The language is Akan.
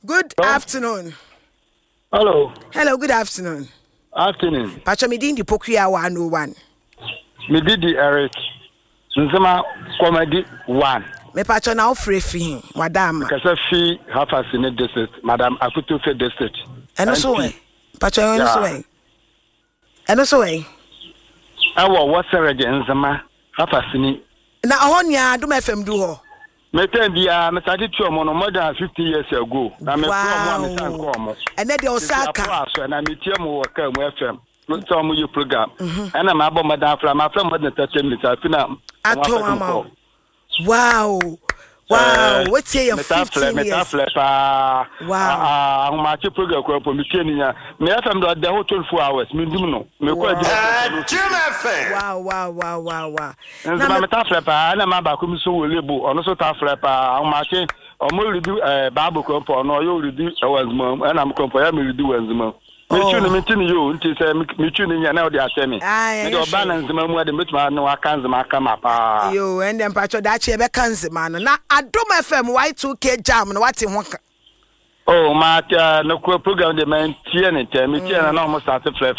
Good afternoon. Hello. Hello, good afternoon. Afternoon. Pacho me din di Pokuya 101. Me di di Eric Nzema Comedy 1. Me pacho na ofre fi he wada ama. Kasa fi Hafasini district, Madam Akutofe district. Ɛno so ɛ. Pacho ɛno so ɛ. Ɛno so ɛ. Ɛwɔ Wɔsɛrɛgye Nzema Hafasini. Na ɔhɔ nea Adom FM du hɔ. Me time biara me starte tua ɔmo no more than 50 years ago na me frɛ ɔmo a me san kɔ ɔmo. Ɛnɛ deɛ ɔsa aka. Tete apo aso na me tie mo wɔ car mu FM sɛ ɔmo yɛ program ɛna ma abɔ mmɔden afra ma afrɛ more than 30 minutes afi na ɔmo Atɔ afɛ ama kɔ. wo. Wow. Wow. Wetie yɛ 15 years. Meta frɛ paa. Wow. Ahomakye program kura mpo me tie ne nya. Me FM do the whole 24 hours me dum no. Me kɔ adwuma. Wow wow wow wow wow. Nti ma meta frɛ paa ɛna ma baako mi so wɔ lebu ɔno so ta frɛ paa ahomakye ɔmo redi ɛɛ baabu kura mpo ɔno ɔyɛ ɔredi ɛwɔ nzema mu ɛna mo kura mpo ɛyɛ mi redi wɔ nzema mu. Metwi no meti ne yio nti sɛ metwi no nya na ɔde ahyɛ me. Mede ɔba na nzema mu ade metumi ne waka nzema aka ma paa. Yo ɛnde mpakyɛ daakye yɛbɛka nzema no na Adom FM Y2K jam no wate ho ka. Oh ma no kura program de man tie ne ntɛm metie na na ɔmo start frɛfrɛ.